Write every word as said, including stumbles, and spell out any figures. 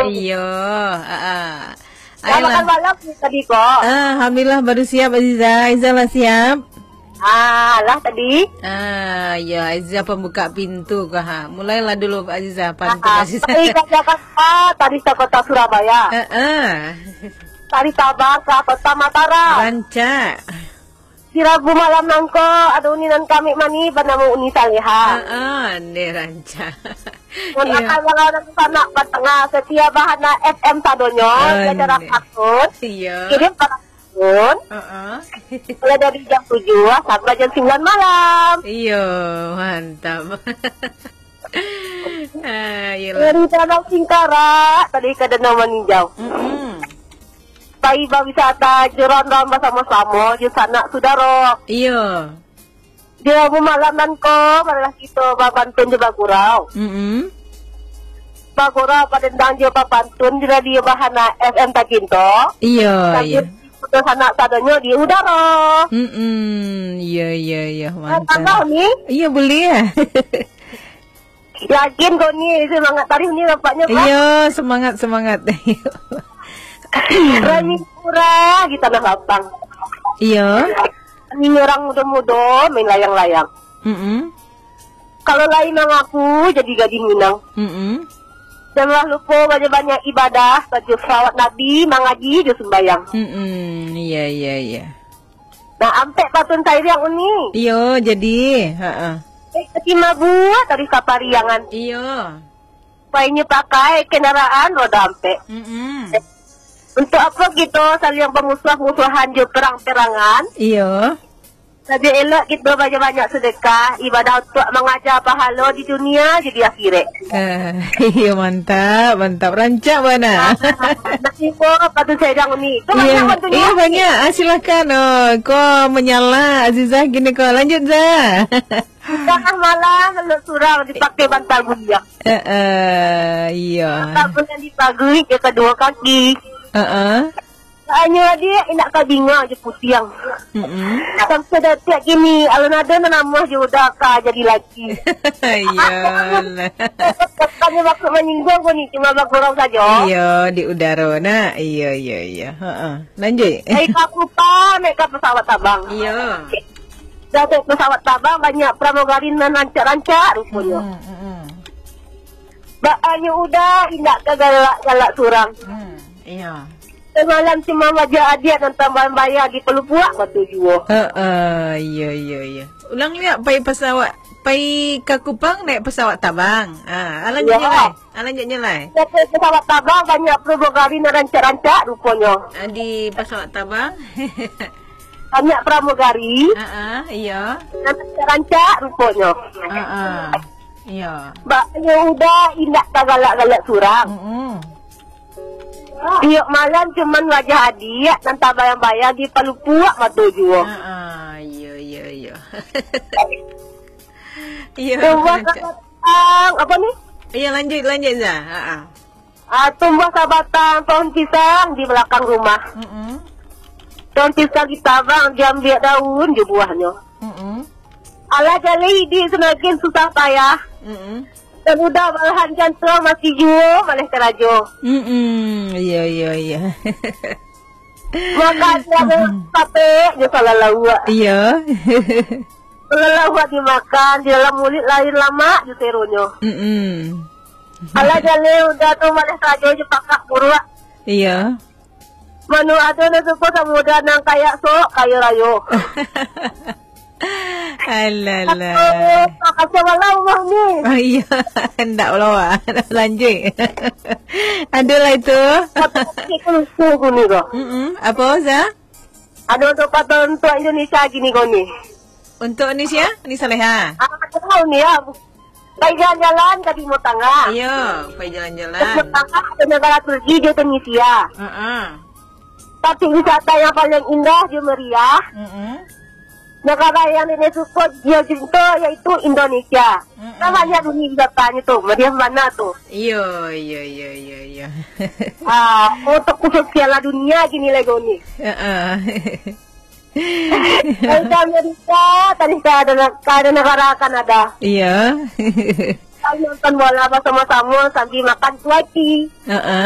Iyo, ah, ah. Dah makan malam ni tadi, kok? Ah, alhamdulillah, baru siap, Aziza. Aziza lah siap? Ah, lah tadi. Ah, ya, Aziza pembuka pintu kah, ha? Mulailah dulu, Aziza, pantun, ah, Aziza. Tari Jakarta, tari Kota Surabaya. Ah, ah. Tari Tabang ka Kota Mataram. Rancak. Di Rabu malam nangko, ado uni nan kamik manih banamo Uni Saleha. Ah, ah, ande rancak. Mun, iyo, akan urang sanak batangah, setia bahana F M sadonyo, di acara, ande, pantun. Iyo. Kirim ka pantun. Ah, ah. Mulai dari jam tujuh sampai jam sembilan malam. Iyo, mantap. Ah, iyolah. Dari Danau Singkarak, tadi ka Danau Maninjau. Mm-mm. Pai bawisata jo rondam basamo-samo jo sanak sudaro. Iyo. Di Rabu malam nangko, marilah kito bapantun jo bagurau. Mm-mm. Bagurau badendang jo bapantun di radio Bahana F M tacinto. Iyo, sambil iyo. Putus sanak sadonyo di udaro. Mm-mm. Iyo, iyo, iyo. Mantap. Tambah ni? Iyo, buliah. Yakin kau ni, semangat tarih ni nampaknyo, Pak. Iyo, semangat, semangat. Rami murah di tanah lapang. Iyo. Rami orang mudo-mudo main layang-layang. Mm-mm. Kalau lai mangaku jadi gadih Minang. Mm-mm. Janlah lupo banyak-banyak ibadah, baco salawat Nabi, mangaji jo sumbayang. Mm-mm. Iya, iya, iya. Nah, ampek patun sairiang uni. Iyo, jadi, ha-a. Eh, kati mabuak dari kapariangan. Iyo. Painyo pakai kendaraan roda ampek. Mm-mm. Untuk apa kito saling bamusuah-musuahan jo perang-perangan? Iyo. Labiah elok kito banyak-banyak sedekah, ibadah untuk mangaja pahalo di dunia jo di akhirat. Eh, iyo, mantap, mantap. Rancak bana. Ah, nak info apa tu saya jangan ni. Tu, iyo, banyak bantunya. Iyo, banyak. Ah, silakan. Oh, ko menyala Azizah gini ko. Lanjut, Zah. Tangah malam, lalu surang dipakai bantal buliah. Eh, eh, iyo. Bantal buliah dipaguik jo kaduo kaki. Heeh. Tanyo adiak indak ka binga jo putiang. Mm-mm. Sampai datiak kini, alun ado nan namuah jo uda ka jadi laki. Iyolah. Bukannya maksud manyinggung ko ni, cuma bagurau sajo. Iyo, di udaro, nak. Iyo, iyo, iyo. Heeh. Lanjut. Dari Kapupa, naik ka pesawat tabang. Iyo. Dah naik pesawat tabang, banyak pramugari nan rancak-rancak ruponyo. Mm-mm, mm-mm. Bak anyo uda, indak ka galak-galak surang. Hmm, iyo. Samalam cuma wajah adiak nan tambah-bayah di palupuak mato juo. Heeh, iyo, iyo, iyo. Ulang liak, pai pesawat, pai ka Kupang naik pesawat tabang. Ah, lanjutnyo lai. Ah, lanjutnyo lai. Naik pesawat tabang banyak pramugari nan rancak-rancak ruponyo. Ah, di pesawat tabang. Banyak pramugari. Heeh, iyo. Nan rancak-rancak ruponyo. Heeh, iyo. Bak anyo uda indak ka galak-galak surang. Mm-mm. Tiok malam cuman wajah adiak nan tabayang-bayang di palupuak mato juo. Ha, iyo, iyo, iyo. Iyo, tumbuah rancak. Sabatang, apa ni? Iyo, lanjut, lanjut, Zah. Ha, ha. Ah, tumbuah sabatang pohon pisang di balakang rumah. Mm-mm. Pohon pisang ditabang, diambiak daun jo buahnyo. Mm-mm. Alah jaleh iduik samakin susah payah. Mm-mm. Dan uda balahan jantuang masih juo maleh karajo. Mm-mm. Iyo, iyo, iyo. Makan ado sapek jo salalauak. Iyo. Salalauak dimakan, di dalam muluik lain lamak jo seronyo. Mm-mm. Alah jaleh uda tu maleh karajo jo pakak buruak. Iyo. Mano ado nan suko samo uda nan kayak sok kayo rayo. Alalah. Kacau malam rumah ni. Oh, iyo. Ndak pulo, Wak. Lanjuik. Ado lai tu. Tapi lucu aku ni ko. Mm-mm. Apo, Za? Ado untuk kata untuk Indonesia gini ko ni. Untuk Indonesia? Ni Saleha. Ah, tahu ni ya. Pai jalan-jalan ka Timur Tangah. Iyo, pai jalan-jalan. Timur Tangah ado nagara Turki jo Tunisia. Heeh. Tapi wisata yang paling indah jo meriah, mm-mm, nagara yang nenek suko jo cinto yaitu Indonesia. Mm-mm. Kan banyak dunia wisatanya tu, meriah bana tu. Iyo, iyo, iyo, iyo, iyo. Ah, untuk khusus Piala Dunia gini lego ni. Heeh. Dari Amerika, tadi ka ado, ka ado nagara Kanada. Iyo. Kami nonton bola basamo-samo sambil makan kuaci. Heeh.